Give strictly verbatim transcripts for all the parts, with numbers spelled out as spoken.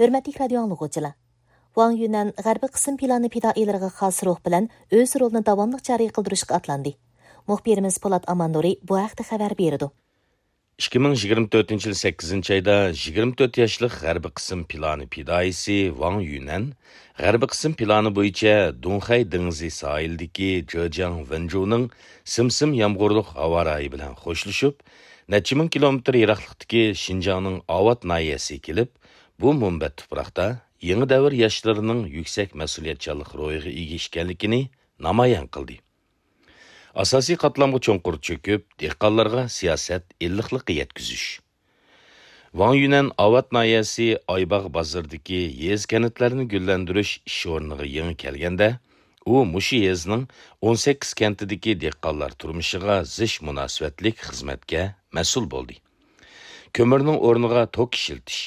ھۆرمەتلىك رادىيو ئاڭلىغۇچىلار! ۋاڭ يۈنەن غەربىي قىسىم پىلانى پىدائىيلىرىغا خاس روھ بىلەن ئۆز رولىنى داۋاملىق جارى قىلدۇرۇشقا ئاتلاندى. مۇخبىرىمىز پولات ئاماننۇرى بۇ ھەقتە خەۋەر بېرىدۇ. ئىككى مىڭ يىگىرمە تۆتىنچى يىل سەككىزىنچى ئايدا يىگىرمە تۆت ياشلىق غەربىي قىسىم پىلانى پىدائىيسى ۋاڭ يۈنەن غەربىي قىسىم پىلانى بويىچە دۇڭخەي دېڭىزى ساھىلىدىكى جېجياڭ ۋېنجۇنىڭ سىم-سىم يامغۇرلۇق ھاۋا رايى بىلەن خوشلىشىپ، نەچچە مىڭ كىلومېتىر يىراقلىقتىكى شىنجاڭنىڭ ئاۋات ناھىيەسىگە كېلىپ، بۇ مۇنبەت تۇپراقتا يېڭى دەۋر ياشلىرىنىڭ يۈكسەك مەسئۇلىيەتچانلىق روھىغا ئىگە ئىكەنلىكىنى نامايان قىلدى. ئاساسىي قاتلامغا چوڭقۇر چۆكۈپ، دېھقانلارغا سىياسەت ئىللىقلىقى يەتكۈزۈش. ۋاڭ يۈنەن ئاۋات ناھىيەسى ئايباغ بازىرىدىكى يېزا-كەنتلەرنى گۈللەندۈرۈش ئىش ئورنىغا يېڭى كەلگەندە، ئۇ مۇشۇ يېزىنىڭ ئون سەككىز كەنتىدىكى دېھقانلار تۇرمۇشىغا زىچ مۇناسىۋەتلىك خىزمەتكە مەسئۇل بولدى. كۆمۈرنىڭ ئورنىغا توك ئىشلىتىش،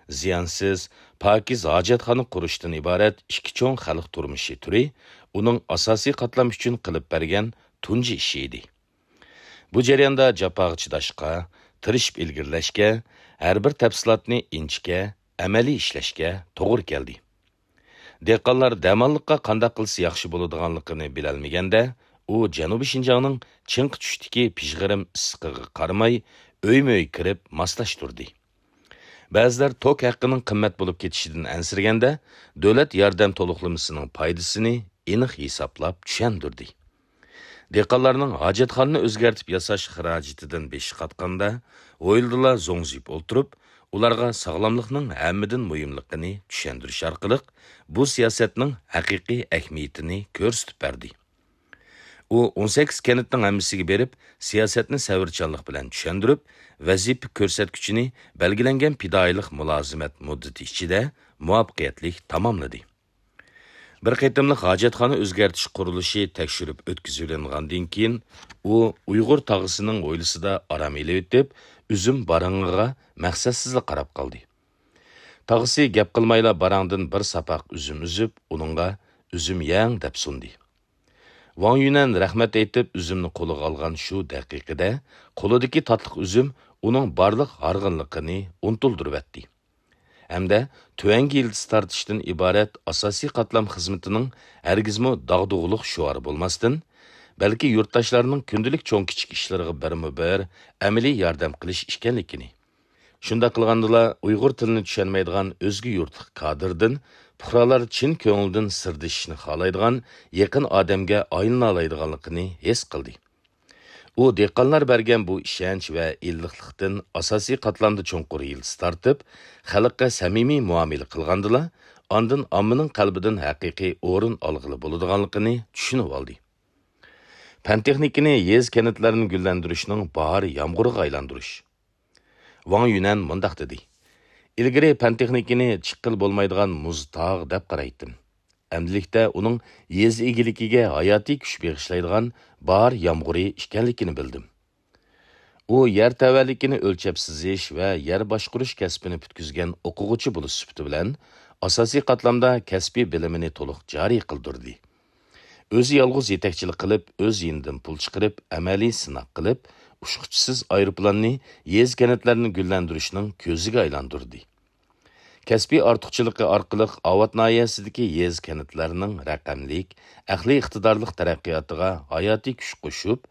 زىيانسىز، پاكىز ھاجەتخانا قۇرۇشتىن ئىبارەت ئىككى چوڭ خەلق تۇرمۇشى تۈرى ئۇنىڭ ئاساسىي قاتلام ئۈچۈن قىلىپ بەرگەن تۇنجى ئىشى ئىدى. بۇ جەرياندا جاپاغا چىداشقا، تىرىشىپ ئىلگىرىلەشكە، ھەر بىر تەپسىلاتنى ئىنچىكە، ئەمەلىي ئىشلەشكە توغرا كەلدى. دېھقانلار دەماللىققا قانداق قىلسا ياخشى بولىدىغانلىقىنى بىلەلمىگەندە، ئۇ جەنۇبىي شىنجاڭنىڭ چىڭقى چۈشتىكى پىژغىرىم ئىسسىقىغا قارىماي، ئۆيمۇ-ئۆي كىرىپ ماسلاشتۇردى. بەزىلەر توك ھەققىنىڭ قىممەت بولۇپ كېتىشىدىن ئەنسىرىگەندە، دۆلەت ياردەم تولۇقلىمىسىنىڭ پايدىسىنى ئېنىق ھېسابلاپ چۈشەندۈردى. دېھقانلارنىڭ ھاجەتخانىنى ئۆزگەرتىپ ياساش خىراجىتىدىن بېشى قاتقاندا، ھويلىدىلا زوڭزىيىپ ئولتۇرۇپ، ئۇلارغا ساغلاملىقنىڭ ھەممىدىن مۇھىملىقىنى چۈشەندۈرۈش ئارقىلىق، بۇ سىياسەتنىڭ ھەقىقىي ئەھمىيىتىنى كۆرسىتىپ بەردى. ئۇ ئون سەككىز كەنتنىڭ ھەممىسىگە بېرىپ، سىياسەتنى سەۋرچانلىق بىلەن چۈشەندۈرۈپ، ۋەزىپە كۆرسەتكۈچىنى بەلگىلەنگەن پىدائىيلىق مۇلازىمەت مۇددىتى ئىچىدە مۇۋەپپەقىيەتلىك تاماملىدى. بىر قېتىملىق ھاجەتخانا ئۆزگەرتىش قۇرۇلۇشى تەكشۈرۈپ ئۆتكۈزۈۋېلىنغاندىن كېيىن، ئۇ ئۇيغۇر تاغىسىنىڭ ھويلىسىدا ئارام ئېلىۋېتىپ، ئۈزۈم باراڭىغا مەقسەتسىزلا قاراپ قالدى. تاغىسى گەپ قىلمايلا باراڭدىن بىر ساپاق ئۈزۈم ئۈزۈپ، ئۇنىڭغا «ئۈزۈم يەڭ» دەپ سۇندى. ۋاڭ يۈنەن رەھمەت ئېيتىپ، ئۈزۈمنى قولىغا ئالغان شۇ دەقىقىدە، قولىدىكى تاتلىق ئۈزۈم ئۇنىڭ بارلىق ھارغىنلىقىنى ئۇنتۇلدۇرۇۋەتتى. ھەمدە تۆۋەنگە يىلتىز تارتىشتىن ئىبارەت ئاساسىي قاتلام خىزمىتىنىڭ ھەرگىزمۇ داغدۇغىلىق شوئارى بولماستىن، بەلكى يۇرتداشلارنىڭ كۈندىلىك چوڭ-كىچىك ئىشلىرىغا بىرمۇبىر ئەمەلىي ياردەم قىلىش ئىكەنلىكىنى، شۇنداق قىلغاندىلا، ئۇيغۇر تىلىنى چۈشەنمەيدىغان ئۆزگە يۇرتلۇق كادىردىن پۇقرالار چىن كۆڭلىدىن سىردىشىشنى خالايدىغان يېقىن ئادەمگە ئايلىنالايدىغانلىقىنى ھېس قىلدى. ئۇ دېھقانلار بەرگەن بۇ ئىشەنچ ۋە ئىللىقلىقتىن ئاساسىي قاتلامدا چوڭقۇر يىلتىز تارتىپ، خەلققە سەمىمىي مۇئامىلە قىلغاندىلا، ئاندىن ئاممىنىڭ قەلبىدىن ھەقىقىي ئورۇن ئالغىلى بولىدىغانلىقىنى چۈشىنىۋالدى. پەن-تېخنىكىنى يېزا-كەنتلەرنى گۈللەندۈرۈشنىڭ باھار يامغۇرىغا ئايلاندۇرۇش. ۋاڭ يۈنەن مۇنداق دېدى: «ئىلگىرى پەن-تېخنىكىنى چىققىلى بولمايدىغان مۇز تاغ دەپ قارايتتىم. ئەمدىلىكتە ئۇنىڭ يېزا ئىگىلىكىگە ھاياتىي كۈچ بېغىشلايدىغان باھار يامغۇرى ئىكەنلىكىنى بىلدىم.» ئۇ يەر تەۋەلىكىنى ئۆلچەپ سىزىش ۋە يەر باشقۇرۇش كەسپىنى پۈتكۈزگەن ئوقۇغۇچى بولۇش سۈپىتى بىلەن، ئاساسىي قاتلامدا كەسپىي بىلىمىنى تولۇق جارى قىلدۇردى. ئۆزى يالغۇز يېتەكچىلىك قىلىپ، ئۆز يېنىدىن پۇل چىقىرىپ، ئەمەلىي سىناق قىلىپ، ئۇچقۇچىسىز ئايروپىلاننى يېزا-كەنتلەرنى گۈللەندۈرۈشنىڭ كۆزىگە ئايلاندۇردى. كەسپىي ئارتۇقچىلىقى ئارقىلىق ئاۋات ناھىيەسىدىكى يېزا-كەنتلەرنىڭ رەقەملىك، ئەقلىي ئىقتىدارلىق تەرەققىياتىغا ھاياتىي كۈچ قوشۇپ،